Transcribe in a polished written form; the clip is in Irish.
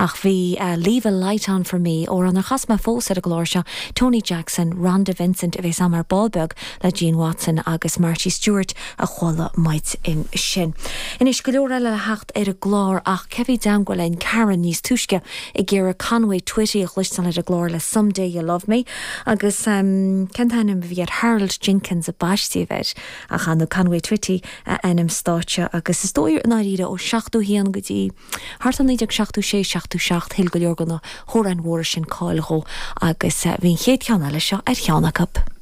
Ach bhí Leave a Light On For Me, amhrán nár chas mé fós ar an gclár seo, Tony Jackson, Rhonda Vincent a bheas agam ar ball beag le Gene Watson agus Marty Stuart a chuala muid ansin. Anois, go leor eile le theacht ar an gclár ach cé bhí i dteangmháil linn? Karen níos túisce ag iarraidh Conway Twitty a chloisteáil ar an gclár le Someday You'll Love Me agus cén t-ainm a bhí air? Harold Jenkins a baisteadh air ach ar ndóigh Conway Twitty a ainm stáitse agus is dóigh i ndáiríre ó 71 go dtí thart ar 1976, 77 thuill go leor de na hamhráin mhóra sin cáil dhó agus bhí an chéad cheann eile seo ar cheann acu.